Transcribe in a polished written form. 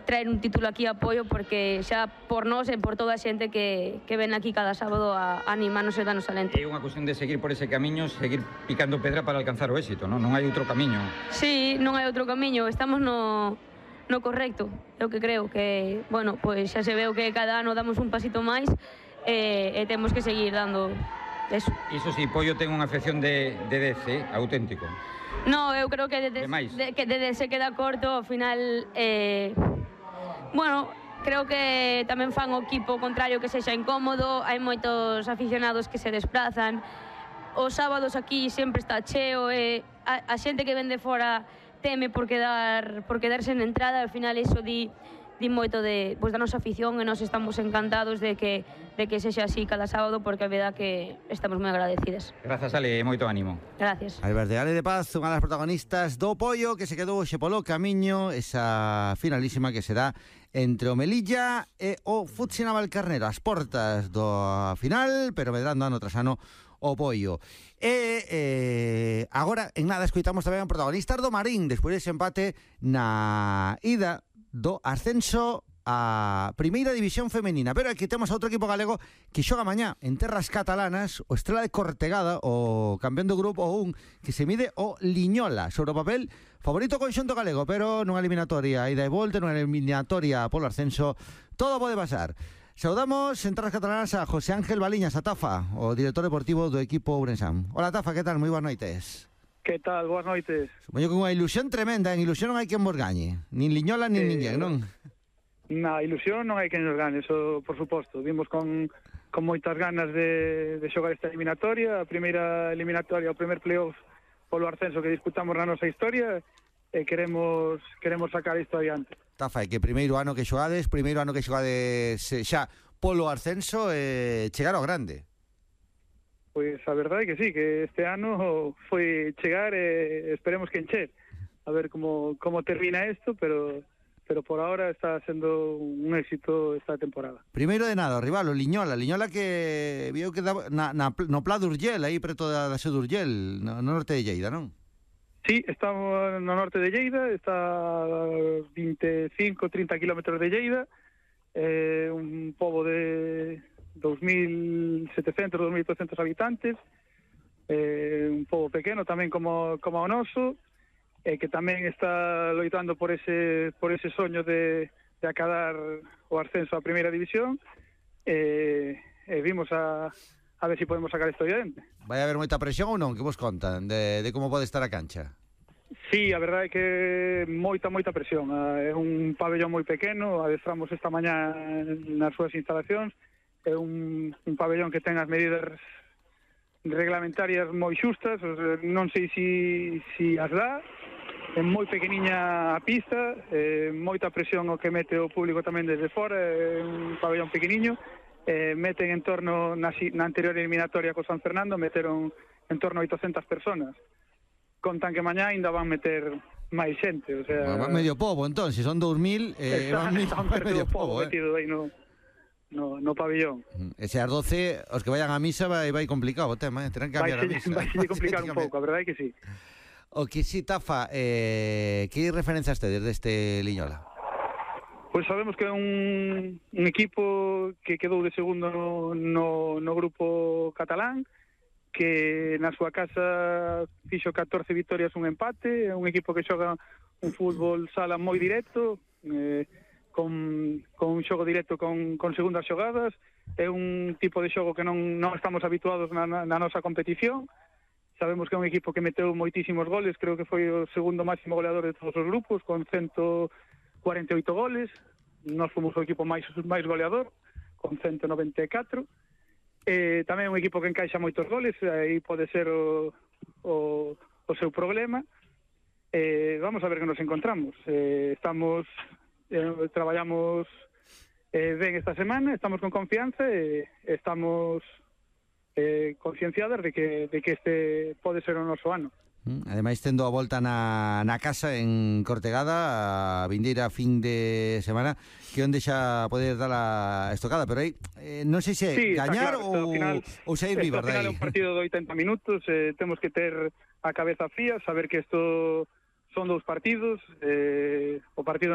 traer un título aquí a apoio, porque xa por nós e por toda a xente que ven aquí cada sábado a animarnos e darnos alento. É unha cuestión de seguir por ese camiño, seguir picando pedra para alcanzar o éxito, non? Non hai outro camiño. Sí, non hai outro camiño, estamos no correcto, é o que creo, que, bueno, pois xa se veo que cada ano damos un pasito máis e temos que seguir dando eso. Iso si, Pollo ten unha afección de 10, auténtico. No, eu creo que desde se queda corto, ao final, bueno, creo que tamén fan o equipo contrario que sexa incómodo, hai moitos aficionados que se desplazan, os sábados aquí sempre está cheo e a xente que ven de fora teme por quedarse en entrada, ao final iso di moito da nosa afición e nós estamos encantados de que sexa así cada sábado, porque a verdad que estamos moi agradecidas. Grazas, Ale, moito ánimo. Gracias. Alberte, Ale de Paz, unha das protagonistas do Pollo, que se quedou hoxe polo camiño, esa finalísima que será entre o Melilla e o Futsi Navalcarnero, as portas do final, pero medrando ano tras ano o Pollo. E agora, en nada, escoitamos tamén protagonistas do Marín, despois dese empate na ida do ascenso a Primeira División Femenina. Pero aquí temos a outro equipo galego que xoga mañá en terras catalanas, o Estrela de Cortegada, o campeón do grupo 1, que se mide o Liñola. Sobre o papel, favorito conxunto galego, pero nunha eliminatoria ida e volta, nunha eliminatoria polo ascenso, todo pode pasar. Saudamos en terras catalanas a José Ángel Baliñas, a Tafa, o director deportivo do equipo Ourensán. Hola, Tafa, que tal? Moi boas noites. Que tal? Boas noites. Supoño que unha ilusión tremenda, en ilusión non hai quen vos gañe, nin Liñola nin ninguén, non? Na ilusión non hai quen nos gane, eso por suposto. Vimos con moitas ganas de xogar esta eliminatoria, a primeira eliminatoria, o primer playoff polo ascenso que disputamos na nosa historia, e queremos sacar isto adiante. Tafa, é que primeiro ano que xogades xa polo ascenso, chegar ao grande. Pois a verdade é que sí, que este ano foi chegar e esperemos que encher. A ver como termina isto, pero por ahora está sendo un éxito esta temporada. Primeiro de nada, o rival, o Liñola que viu que no Pla d'Urgell, aí preto da sede d'Urgell, no norte de Lleida, non? Sí, estamos no norte de Lleida, está a 25-30 kilómetros de Lleida, un pobo de 2.700, 2.800 habitantes, un pobo pequeno tamén como o noso, que tamén está loitando por ese soño de acadar o ascenso á Primeira División, vimos a ver se podemos sacar isto adiante. Vai haber moita presión ou non? Que vos contan de como pode estar a cancha? Sí, a verdade é que moita presión. É un pabellón moi pequeno, adestramos esta mañá nas súas instalacións. É un pabellón que ten as medidas reglamentarias moi xustas, non sei si as dá. É moi pequeniña a pista, moita presión o que mete o público tamén desde fora, é un pabellón pequeniño. Meten en torno, na anterior eliminatoria co San Fernando, meteron en torno a 800 personas. Contan que mañá ainda van meter máis xente, o sea... Van medio pobo, entón, se son 2.000, van medio pobo, metido aí no pabellón. E se as 12, os que vayan á misa vai complicado o tema, terán que cambiar a misa. Vai complicar un pouco, a verdade é que sí. O que sí, Tafa, que referencias tedes deste Liñola? Pois sabemos que é un equipo que quedou de segundo no grupo catalán, que na súa casa fixo 14 vitorias, un empate, é un equipo que xoga un fútbol sala moi directo, con un xogo directo con segundas xogadas. É un tipo de xogo que non estamos habituados na nosa competición. Sabemos que é un equipo que meteu moitísimos goles, creo que foi o segundo máximo goleador de todos os grupos, con 148 goles. Nós fomos o equipo máis goleador, con 194. Tamén é un equipo que encaixa moitos goles, aí pode ser o seu problema. Vamos a ver que nos encontramos. Traballamos ben esta semana, estamos con confianza e estamos concienciadas de que este pode ser o noso ano. Ademais, tendo a volta na casa en Cortegada a vindeira fin de semana, que onde xa poder dar a estocada, pero aí non sei se gañar ou sair vivos dai. Ao final é un partido de 80 minutos, temos que ter a cabeza fría, saber que isto son dous partidos, o partido